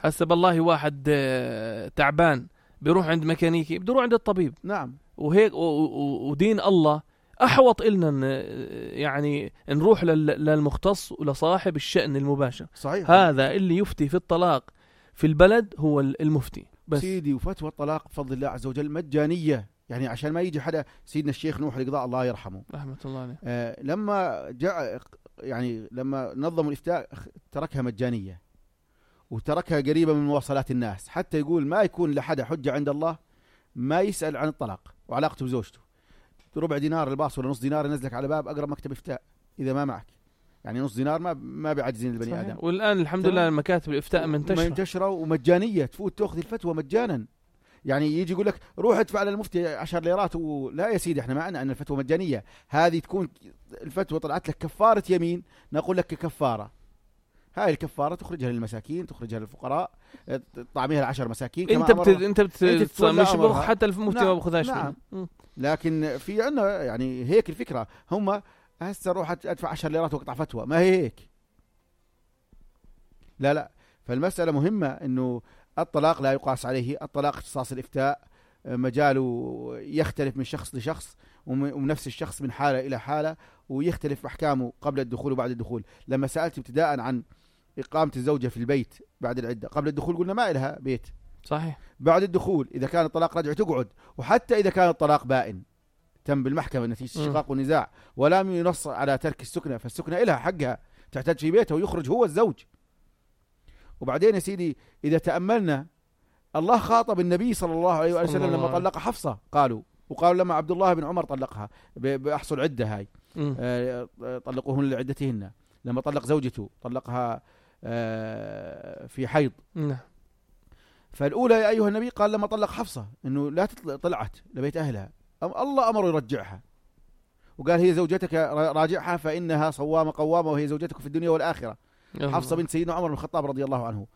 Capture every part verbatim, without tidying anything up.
هسه بالله واحد تعبان بيروح عند ميكانيكي بده يروح عند الطبيب. نعم. وهيك ودين الله أحوط إلنا يعني نروح للمختص ولصاحب الشأن المباشر. صحيح. هذا اللي يفتي في الطلاق في البلد هو المفتي بس. سيدي وفتوى الطلاق بفضل الله عز وجل مجانية، يعني عشان ما يجي حدا. سيدنا الشيخ نوح القضاء الله يرحمه رحمة الله عليه آه لما جاء يعني لما نظموا الإفتاء تركها مجانية وتركها قريبة من مواصلات الناس، حتى يقول ما يكون لحدا حجة عند الله ما يسأل عن الطلاق وعلاقته بزوجته. ربع دينار الباص ولا نص دينار ينزلك على باب أقرب مكتب إفتاء إذا ما معك، يعني نص دينار ما ما بيعجزين البني صحيح. آدم. والآن الحمد لله مكاتب الإفتاء منتشرة منتشرة ومجانية، تفوت تأخذ الفتوى مجانا. يعني يجي يقول لك روح ادفع على المفتي عشر ليرات و... لا يا سيدي احنا معنا أن الفتوى مجانية. هذه تكون الفتوى طلعت لك كفارة يمين، نقول لك كفارة. هاي الكفارة تخرجها للمساكين، تخرجها للفقراء، طعميها العشر مساكين. انت بت... انت بت... انت مش بخ حتى المفتي ما بخذهاش. نعم. لكن في عنا يعني هيك الفكرة، هم هسه روح ادفع عشر ليرات واقطع فتوى، ما هي هيك. لا لا فالمسألة مهمة انه الطلاق لا يقاس عليه. الطلاق اختصاص الإفتاء مجاله يختلف من شخص لشخص ومن نفس الشخص من حالة إلى حالة، ويختلف أحكامه قبل الدخول وبعد الدخول. لما سألت ابتداء عن إقامة الزوجة في البيت بعد العدة، قبل الدخول قلنا ما إلها بيت. صحيح. بعد الدخول إذا كان الطلاق رجع تقعد، وحتى إذا كان الطلاق بائن تم بالمحكمة نتيجة شقاق ونزاع ولم ينص على ترك السكنة، فالسكنة إلها حقها، تحتاج في بيتها ويخرج هو الزوج. وبعدين يا سيدي إذا تأملنا الله خاطب النبي صلى الله عليه وسلم لما طلق حفصة، قالوا وقالوا لما عبد الله بن عمر طلقها بأحصل عدة هاي آه طلقوهن لعدتهن. لما طلق زوجته طلقها آه في حيض. نعم. فالأولى يا أيها النبي قال لما طلق حفصة إنه لا طلعت لبيت أهلها، الله أمر يرجعها وقال هي زوجتك راجعها فإنها صوامة قوامة وهي زوجتك في الدنيا والآخرة. حفصة بنت سيدنا عمر بن الخطاب رضي الله عنه.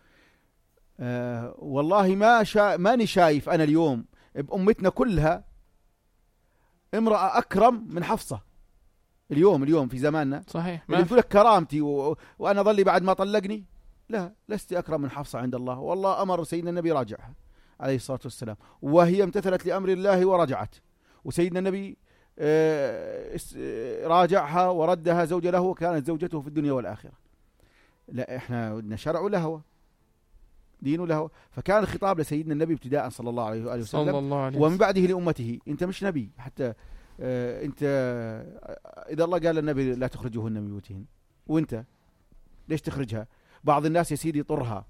آه والله ما شا ماني شايف أنا اليوم بأمتنا كلها امرأة أكرم من حفصة اليوم اليوم في زماننا. صحيح. اللي تقول لك كرامتي و... وأنا ظلي بعد ما طلقني، لا لست أكرم من حفصة عند الله. والله أمر سيدنا النبي راجعها عليه الصلاة والسلام، وهي امتثلت لأمر الله ورجعت، وسيدنا النبي آه راجعها وردها زوجة له وكانت زوجته في الدنيا والآخرة. لا احنا بدنا شرع ولهوى دين ولهوى. فكان الخطاب لسيدنا النبي ابتداء صلى الله عليه وآله وسلم صلى الله عليه ومن بعده لأمته. انت مش نبي حتى اه انت اذا الله قال للنبي لا تخرجوهن من بيوتهن، وانت ليش تخرجها؟ بعض الناس يا سيدي يطرها،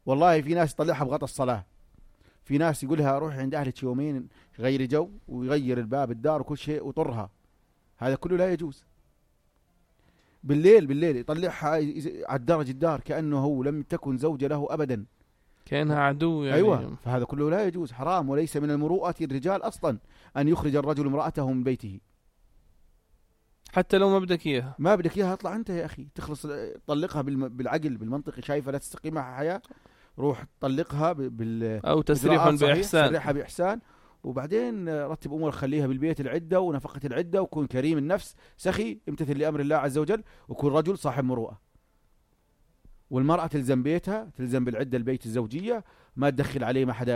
والله في ناس يطلعها بغطى الصلاة، في ناس يقولها روح عند اهلك يومين غير جو ويغير الباب الدار وكل شيء وطرها. هذا كله لا يجوز. بالليل بالليل يطلعها على الدرج الدار كأنه هو لم تكن زوجة له أبدا، كأنها عدو يعني. أيوة. فهذا كله لا يجوز، حرام. وليس من المروءة الرجال أصلا أن يخرج الرجل امرأته من بيته حتى لو ما بدك إياها. ما بدك إياها اطلع أنت يا أخي، تخلص طلقها بالعقل بالمنطق. شايفة لا تستقيم معها حياة، روح طلقها بال أو تسريح بإحسان. تسريحها بإحسان، وبعدين رتب أمور خليها بالبيت العدة ونفقة العدة، وكون كريم النفس سخي امتثل لأمر الله عز وجل، وكون رجل صاحب مروءة. والمرأة تلزم بيتها، تلزم بالعدة البيت الزوجية، ما تدخل عليه ما حدا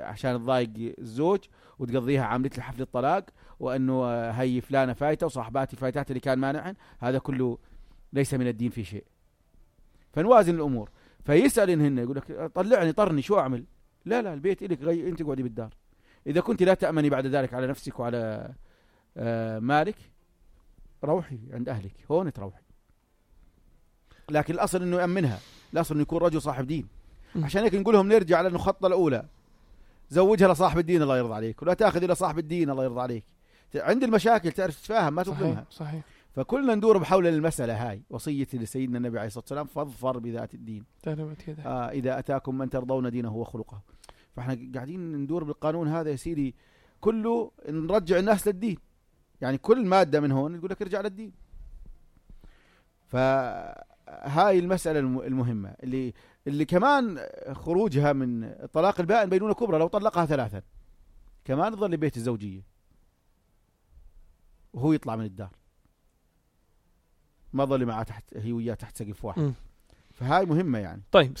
عشان تضايق الزوج وتقضيها عملت لحفل الطلاق وأنه هي فلانة فايتة وصاحباتي فايتات اللي كان مانعن. هذا كله ليس من الدين في شيء. فنوازن الأمور. فيسأل إنهن يقول لك طلعني طرني شو أعمل؟ لا لا البيت إلك غي... أنت قعدي بالدار. إذا كنت لا تأمني بعد ذلك على نفسك وعلى آه مالك روحي عند أهلك، هون تروحي. لكن الأصل إنه يأمنها، الأصل إنه يكون رجل صاحب دين. عشان هيك نقولهم نرجع على الخطة الأولى، زوجها لصاحب الدين الله يرضى عليك، ولا تأخذ إلى صاحب الدين الله يرضى عليك. عند المشاكل تعرف تتفاهم ما تظلمها. صحيح. صحيح. فكلنا ندور بحول المسألة هاي. وصية لسيدنا النبي عليه الصلاة والسلام فاظفر بذات الدين آه إذا أتاكم من ترضون دينه وخلقه. فاحنا قاعدين ندور بالقانون هذا يا سيدي كله نرجع الناس للدين. يعني كل مادة من هون يقول لك ارجع للدين. فهاي المسألة المهمة اللي اللي كمان خروجها من الطلاق البائن بينونة كبرى. لو طلقها ثلاثا كمان تظل بيت الزوجية وهو يطلع من الدار، ما ظل معه تحت هي وياه تحت سقف واحد. م. فهاي مهمة يعني. طيب.